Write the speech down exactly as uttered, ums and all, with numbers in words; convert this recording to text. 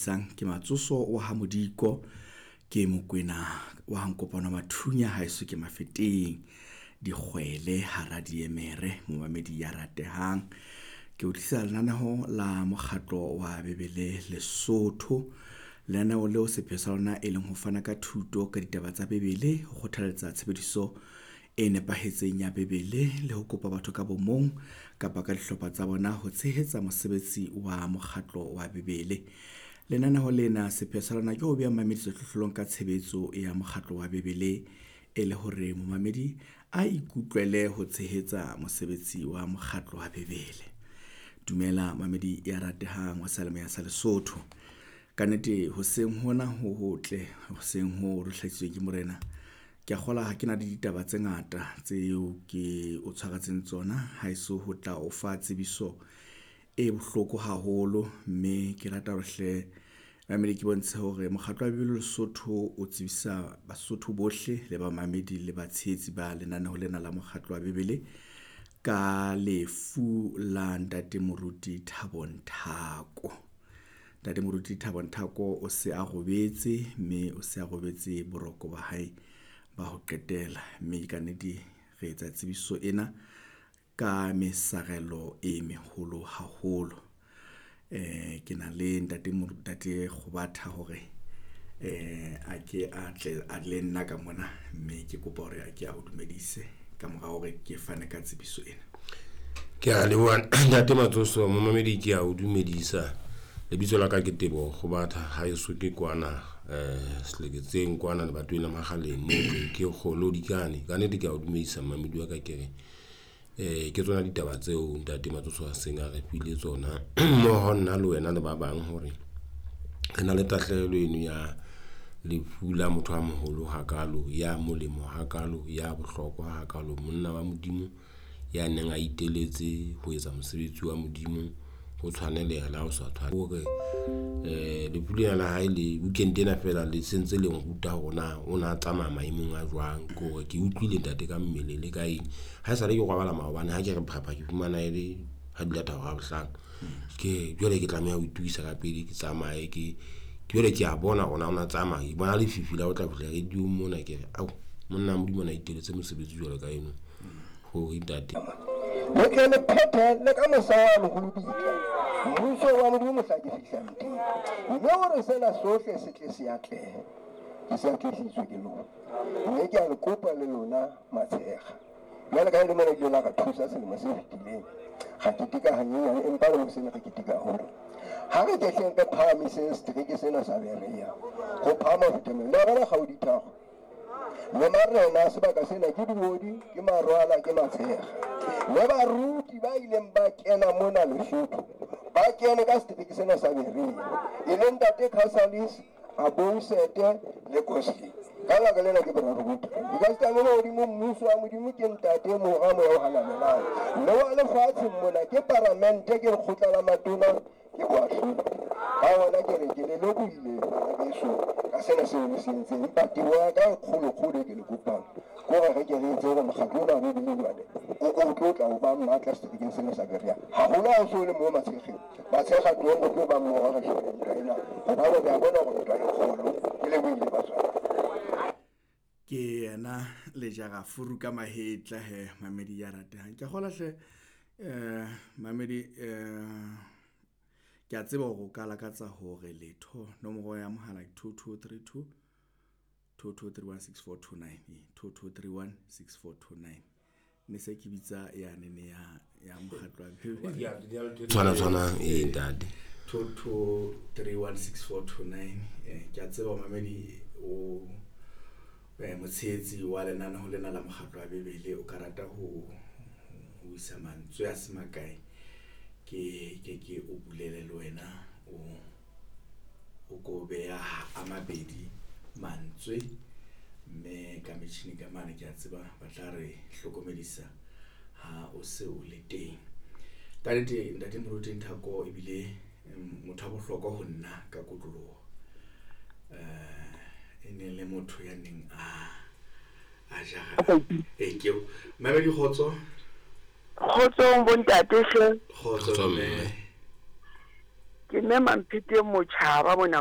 Sang ke Matsoso wa ha Modiko, ke Mokwena wa ha Nkopano Mathunya, haeso ke Mafeteng, dikgwele hara diemere, momamedi ya ratehang. Ke o tlisa lenaneo la mokgatlo wa Bibele Lesotho. Lenaneo leo sepheo sa lona e leng ho fana ka thuto ka ditaba tsa Bibele, ho kgothaletsa tshebediso e nepahetseng ya Bibele le ho kopa batho ka bomong kapa ka dihlopha tsa bona ho tshehetsa mosebetsi wa mokgatlo wa Bibele. Lenaneo lena sepheo sa lona ke ho beha momamedi sehlohlolong ka tshebetso ya mokgatlo wa Bibele, e le hore momamedi a ikutlwele ho tshehetsa mosebetsi wa mokgatlo wa Bibele. Dumela mamedi ya ratehang wa seyalemoya sa Lesotho. Kannete hoseng hona ho hotle, hoseng ho re hlahisitsweng ke morena. Ke a kgola ha ke na le ditaba tse ngata tseo ke o tshwaretseng tsona, haeso ho tla o fa tsebiso e bohloko haholo, mme ke rata hore hle mamedi ke bontshe hore mokgatlo wa Bibele Lesotho o tsebisa Basotho bohle le bamamedi le batshehetsi ba lenaneo lena la mokgatlo wa Bibele ka lefu la ntate Moruti Thabo Nthako. Ntate Moruti Thabo Nthako o se a robetse, mme o se a robetse boroko ba hae ba ho qetela, mme ka nnete re etsa tsebiso ena ka mesarelo e meholo haholo. Eh ke na le ntate ntate Kgobatha hore eh a ke a tle a le nna ka mona, mme ke kopa hore a ke a o dumedise ka mora hore ke fane ka tsebiso ena. Ke a leboha ntate Matsoso, momamedi ke a o dumedisa. Lebitso la ka ke Teboho Kgobatha, haeso ke kwana eh Seleketseng kwana lebatoweng la Makgaleng moo ke Kgolodikane. Ka nnete ke a o dumedisa momamedi wa ka, ke re eh ke tsona ditaba tseo ntate Matsoso a seng a re file tsona mmoho nna le wena le ba bang hore re na le tahlehelo eno ya lefu la motho a moholo hakalo, ya molemo hakalo, ya bohlokwa hakalo, monna wa Modimo ya neng a iteletse ho etsa mosebetsi wa Modimo ho tshwaneleha le ha o sa tshwane. Hore eh lefu lena la hae le weekend ena feela le sentse le nruta hore na o na tsamaya maemong a jwang. Ke hore ke utlwile ntate ka mmele le ka eng, ha esale ke robala maobane ha ke re phapha ke fumana e le ha di lata hora ya bohlano. Ke jwale ke tlameha ho itokisa ka pele ke tsamaye ke jwale ke a bona hore na o na tsamaya, ke bona lefifi la ho tla fihla radio mona, ke re ao monna Modimo ona iteletse mosebetsi jwalo ka eno hore ntate le tle le phethe le ka mosa wa leholobitla mmuso wa Modimo mohla ke fihlang teng, mme hore sena sohle se tle se atlehe, ke se atlehisitswe ke lona, mme ke a le kopa le lona matshega. Jwale ka e le mona ke la re thusa selemo se fetileng, ra keteka hanyenyane, empa le mosena re keteka haholo. Ha re kehleng re phahamiseng setereke sena sa Berea ho phahama ho feta mmele. Le a bona kgaodi tharo le marena sebaka sena ke Diodi, ke Marwala, ke Matshega. Le baruti ba ileng ba kena mona Lesotho ba kene ka setereke sena sa Berea, e leng ntate Casalis, Abousete le Kosi. Ka lebaka lena ke boraro bo teng. Because taba le hodimo mmuso wa Modimo ke ntate, Mora, Moya o Halalelang. Mme wa lefatshe mona ke paramente, ke lekgotla la matona, ke boahlodi. Ka hona ke re ke le lebohile bana beso ka sena seo le se entseng. Empa teboho ya ka e kgolo-kgolo e ke le kopang ke hore re ke re etse hore mokgatlo ona wa Bibele jwale o o tlo tla o ba matla seterekeng sena sa Berea. Haholo ha o so le moo Matshegeng. Matshega tlohong re tlo ba mmoho re hlole ntwa ena, hobane re a bona hore ntwa e kgolo. Ke lebohile batswadi. Ke yena Lejara Furu ka mahetla he mamedi ya ratehang. Ke a kgolwa hle eh mamedi eh ke a tseba hore o ka lakatsa hore letho nomoro ya mohala ke two two three two two two three one six four two nine, two two three one six four two nine. Ne se ke bitsa ya nene ya ya mokgatlo wa Bibele. Tshwana tshwana e ntate two two three one six four two nine. Eh ke a tseba mamedi o eh motshehetsi wa lenaneo lena la mokgatlo wa Bibele o ka rata ho ho isa mantswe a se makae, ke ke ke o bulele le wena o o ko beha a mabedi mantswe, mme ka metjhini ka mane ke a tseba ba tla re hlokomedisa ha o se o le teng. Ka nnete ntate Moruti Nthako ebile motho wa bohlokwa ho nna ka kotloloho. Eh e ne le motho ya neng a a jara e ke mamedi kgotso. Kgotsong bontate hle. Kgotso mme. Ke mme Mamphete Motjhaba mona.